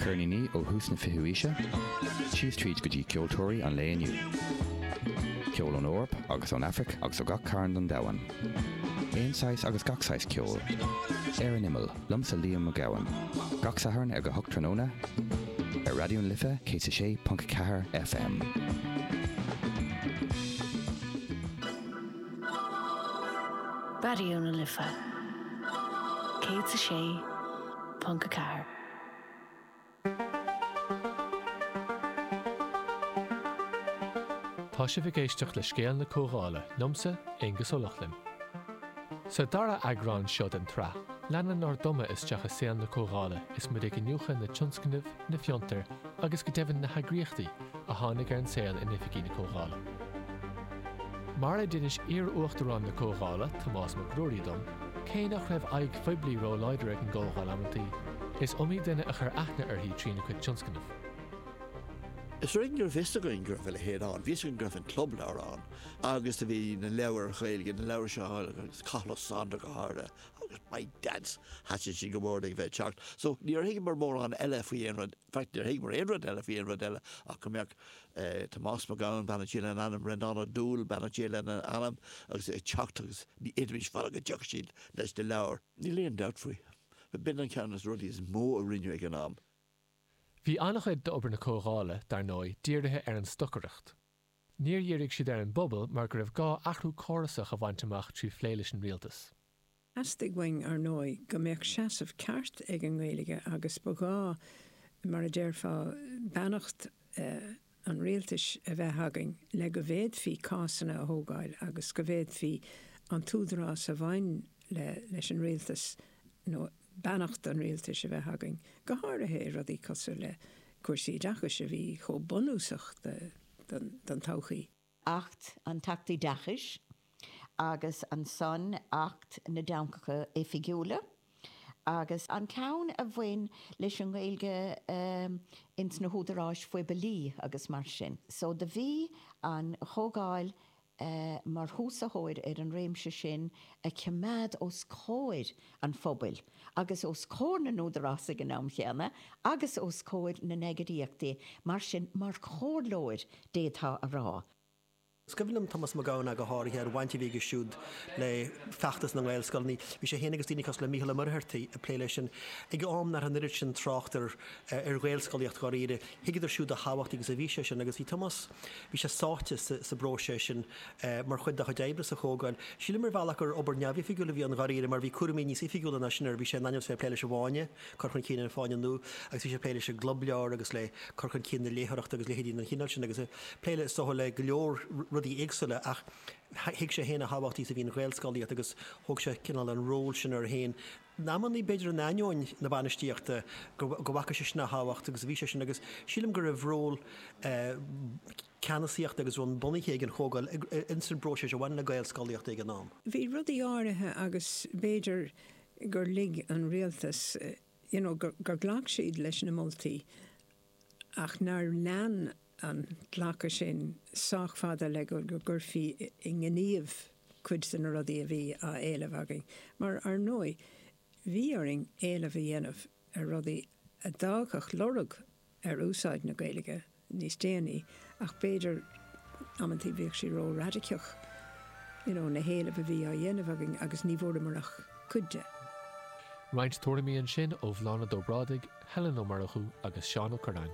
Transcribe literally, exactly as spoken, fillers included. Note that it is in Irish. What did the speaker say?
Ceirníní ó thús na fichiú haoise, síos tríd go dtí ceoltóirí an lae inniu. Ceol ón Eoraip agus ón Afraic agus ó gach cearn den domhan. Aon saghas agus gach saghas ceoil. Ar an Imeall, liomsa Liam Mac Gabhann. Gach Satharn ag a hocht tráthnóna ar Raidió na Life céad a sé ponc ceathair FM. Raidió na Life céad a sé ponc a ceathair. Tá sibh ag éisteacht le Scéal na Comhdhála liomsa, Aengus Ó Lochlainn. Sa dara eagrán seo den tsraith, leanann ár dtumadh isteach i saol na Comhdhála is muid ag iniúchadh na tionscnaimh, na fiontair agus go deimhin na heagraíochtaí a tháinig ar an saol in oifigí na Comhdhála. Mar a d'inis iar-uachtarán na Comhdhála, Tomás Mac Ruairí dom, cé nach raibh aghaidh phoiblí róláidir ag an gComhdháil amantaí, is iomaí duine a chuir aithne uirthi trína cuid tionscnamh. Is ar éigean go raibh fhios againn go raibh a leithéid ann. Bhí fhios againn go raibh an Club Leabhar ann agus do bhí na leabhair Ghaeilge, na leabhair seo agus Cathal Ó Sándair go háirithe agus my dads, thaitin siad go mór ag bheith ag teacht. So níor thuigeamar mórán eile faoi aon rud, in fact níor thuigeamar aon rud eile faoi aon rud eile ach go mbeadh Tomás Mac Gabhann, beannacht Dé lena anam, Breandán Ó Dúill, beannacht Dé lena anam, agus ag teacht agus ní fhéadfaimis fanacht go dtiocfadh siad leis na leabhair. Níl aon dabht faoi. B'in an ceann de na rudaí is mó a rinneadh ag an am. Bhí an-chuid d'obair na Comhdhála, dar ndóigh, dírithe ar an stocaireacht. Níor dhírigh siad ar an bpobal mar go raibh gá athrú córasach a bhaint amach trí phlé leis an rialtas. Theastaigh uainn, ar ndóigh, go mbeadh seasamh ceart ag an nGaeilge agus ba ghá, mar a déarfá, beannacht an rialtais a bheith againn le go bhféadfaí cásanna a thógáil agus go bhféadfaí an t-údarás a bhain leis an rialtas nó beannacht an rialtais a bheith againn, go háirithe i rudaí cosúil le cúrsaí oideachais a bhí chomh bunúsach don todhchaí. Acht an tAcht Oideachais agus ansan Acht na dTeangacha Oifigiúla agus an ceann a bhain leis an nGaeilge ins na húdaráis phoiblí agus mar sin. So do bhí an Chomhdháil mar thúsaitheoir ar an réimse sin a choimeád os comhair an phobail agus os comhair na n-údarás ag an am chéanna agus os comhair na n-eagraíochtaí, mar sin, mar chomhairleoir, d'fhéadfá a rá. Is cuimhin liom Tomás Mac Gabhann ach go háirithe, an bhaint a bhí aige siúd le feachtas na nGaelscoileanna. Bhí sé féin agus daoine cosúil le Mícheál Ó Muircheartaigh ag plé leis sin ag am nach raibh an oiread sin trácht ar ar Ghaelscolaíocht dháiríre. Thuigeadar siúd a thábhachtaí agus a bhí sé sin agus bhí Tomás, bhí sé sáite sa bpróiseas sin mar chuid dá chuid oibre sa Chomhdháil. Sílim ar bhealach gur obair neamhoifigiúil a bhí ann dháiríre mar bhí cúraimí níos oifigiúla ná sin air. Bhí sé in ainm is bheith ag plé leis an bhFáinne, cur chun cinn an Fáinne Nua, agus bhí sé ag plé leis an gClub Leabhar agus le cur chun cinn na léitheoireachta agus leithéidí den chineál sin agus ag plé le, is dócha, le go leor rudaí éagsúla ach thuig sé féin a thábhachtaí is a bhí an Ghaelscolaíocht agus thóg sé cineál an ról sin air féin. In amannaí, b'fhéidir in ainneoin na bainistíochta, go bhfaca seisean a thábhacht agus a bhí sé sin agus sílim go raibh ról ceannasaíochta agus ról bunaithe ag an Chomhdháil ins an bpróiseas a bhain le Gaelscolaíocht ag an am. Bhí rudaí áirithe agus b'fhéidir gur lig an rialtas, you know, gur ghlac siad leis na moltaí ach nár lean an glacadh sin sách fada le go gcuirfí i ngníomh cuid de na rudaí a bhí á éileamh againn. Mar, ar ndóigh, bhí orainn éileamh a dhéanamh ar rudaí a d'fhágfadh lorg ar úsáid na Gaeilge níos déanaí ach b'fhéidir amantaí bhíodh sé ró-radacach, you know, na héilimh a bhí á dhéanamh againn agus ní bhfuaireamar ach cuid de. Roinnt tuairimí ansin ó Bhláthnaid Ó Brádaigh, Helen Ó Murchú agus Seán Ó Cuirreáin.